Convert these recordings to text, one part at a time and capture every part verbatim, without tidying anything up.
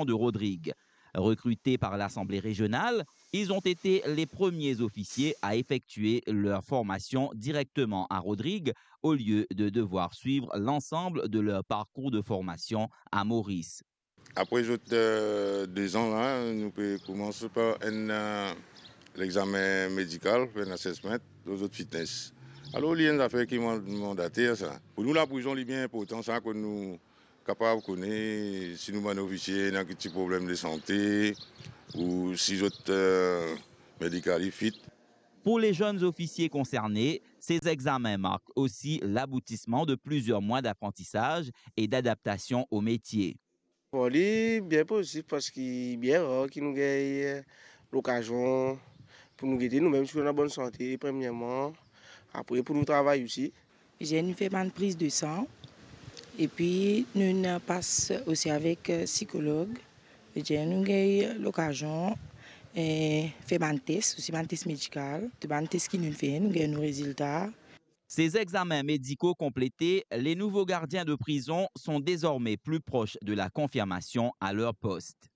de Rodrigues. Recrutés par l'Assemblée régionale, ils ont été les premiers officiers à effectuer leur formation directement à Rodrigues, au lieu de devoir suivre l'ensemble de leur parcours de formation à Maurice. Apre zot, euh, de zan la, nou pe koumans par enn, euh, lexamen medikal, fer enn assessment lor zot fitness. Alor, li enn zafer ki man-, mandater sa. Pou nou, laprizon, li bien inportan sa, kot nou kapav kone si nou bann ofisie ena ki ti problem de sante ou si zot, euh, medikali fit. Pour les jeunes officiers concernés, ces examens marquent aussi l'aboutissement de plusieurs mois d'apprentissage et d'adaptation au métier. Bon, li bien pozitif parski bien rar ki nou gagn lokazion pou nou gete noumem si nou ena bonn sante, premierman, apre pou nou travay osi. Zenn fer bann priz de san, epi nou ena pas osi avek, eh, sikolog. Zenn nou gagn lokazion, eh, fer bann tes, osi bann tes medikal. Tou bann tes ki nou fer, nou gagn nou rezilta. Ces examens médicaux complétés, les nouveaux gardiens de prison sont désormais plus proches de la confirmation à leur poste.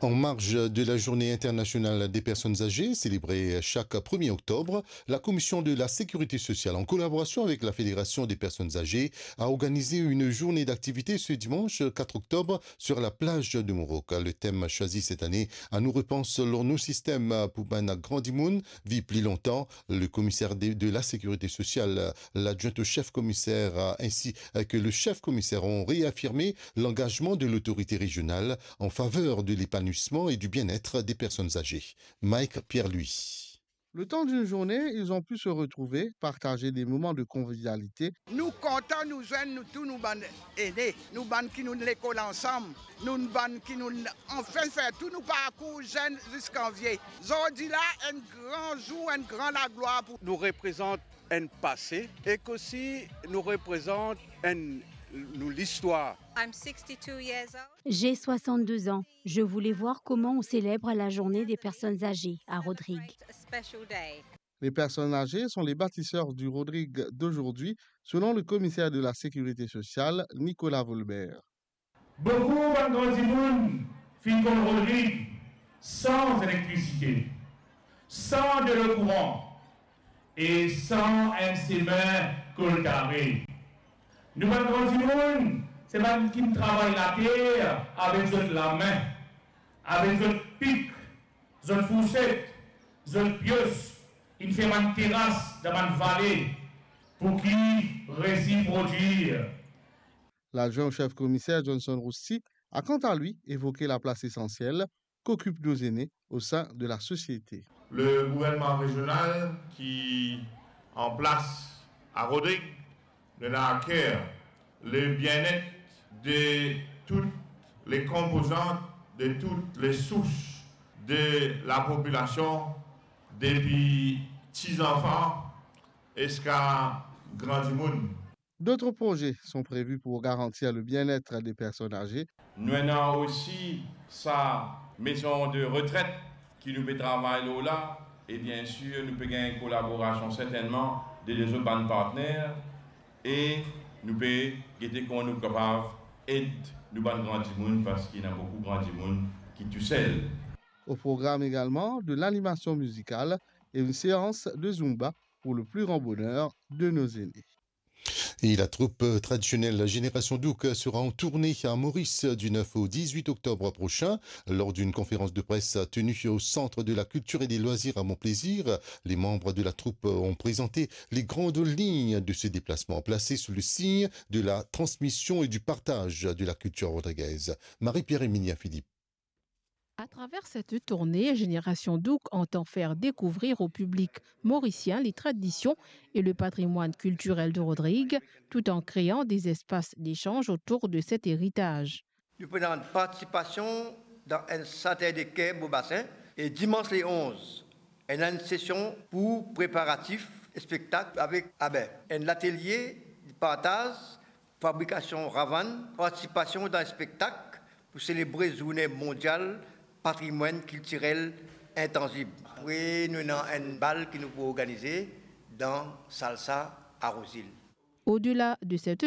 En marge de la Journée internationale des personnes âgées, célébrée chaque premier octobre, la Commission de la Sécurité sociale, en collaboration avec la Fédération des personnes âgées, a organisé une journée d'activité ce dimanche quatre octobre sur la plage de Mouroc. Le thème choisi cette année, a nou repans lor nou sistem pou bann gran dimoun viv pli lontan. Le commissaire de, de la sécurité sociale, l'adjoint au chef commissaire, euh, ainsi que le chef commissaire ont réaffirmé l'engagement de l'autorité régionale en faveur de l'épanouissement et du bien-être des personnes âgées. Mike Pierre-Louis. Le temps d'une journée, ils ont pu se retrouver, partager des moments de convivialité. Nou kontan nou zwenn nou tou nou bann ene, nou bann ki nou'nn lekol ansam, nou bann ki nou'nn anfin fer tou nou parkour zenn ziska vie. Zordi la, enn gran zour, enn gran laglwar pou nou reprezant enn pase ek osi nou reprezant enn nou listwar. I'm sixty-two years old. J'ai soixante-deux ans. Je voulais voir comment on célèbre la journée des personnes âgées à Rodrigues. Celebrate a special day. Les personnes âgées sont les bâtisseurs du Rodrigues d'aujourd'hui, selon le commissaire de la sécurité sociale, Nicolas Volbert. Boukou bann gran dimoun finn konn Rodrigues san elektrisite, san delo kouran e san enn semin koltare. Nou bann gran dimoun, se bann ki travay later avek zot lame, avek zot pik, zot fourset, zot pios, inn fer bann teras dan bann vale pou ki resi prodwir. L'adjoint au chef commissaire Johnson Rousti a quant à lui évoqué la place essentielle qu'occupent nos aînés au sein de la société. Le gouvernement régional ki an plas a Rodrigues, nou ena a ker le bien-être de toutes les composantes, de toutes les souches de la population, depi ti zanfan ziska gran dimoun. D'autres projets sont prévus pour garantir le bien-être des personnes âgées. Nou ena osi sa maison de retraite ki nou pe travay lor la, e bien sûr nou pe gagn kolaborasion sertennman de lezot bann partner, e nou pe gete kouma nou kapav ed nou bann gran dimoun, parski ena boukou gran dimoun ki tousel. Au programme également de l'animation musicale et une séance de Zumba pour le plus grand bonheur de nos aînés. Et la troupe traditionnelle Génération Douk sera en tournée à Maurice du neuf au dix-huit octobre prochain. Lors d'une conférence de presse tenue au Centre de la Culture et des Loisirs à Monplaisir, les membres de la troupe ont présenté les grandes lignes de ce déplacement placé sous le signe de la transmission et du partage de la culture rodriguaise. Marie-Pierre Emilien Philippe. À travers cette tournée, Génération Douk entend faire découvrir au public mauricien les traditions et le patrimoine culturel de Rodrigues, tout en créant des espaces d'échange autour de cet héritage. Nou pou ena partisipasion dan enn Saturday Care Beau Bassin e dimans le onz, ena enn sesion pou preparatif spektak avek, abe, enn latelie partaz fabrikasion ravann, partisipasion dan spektak pou selebre Zourne Mondial Patrimwann Kiltirel Intanzib. Apre, nou ena enn bal ki nou pou organize dan Salsa a Rouzil. Au-delà de cette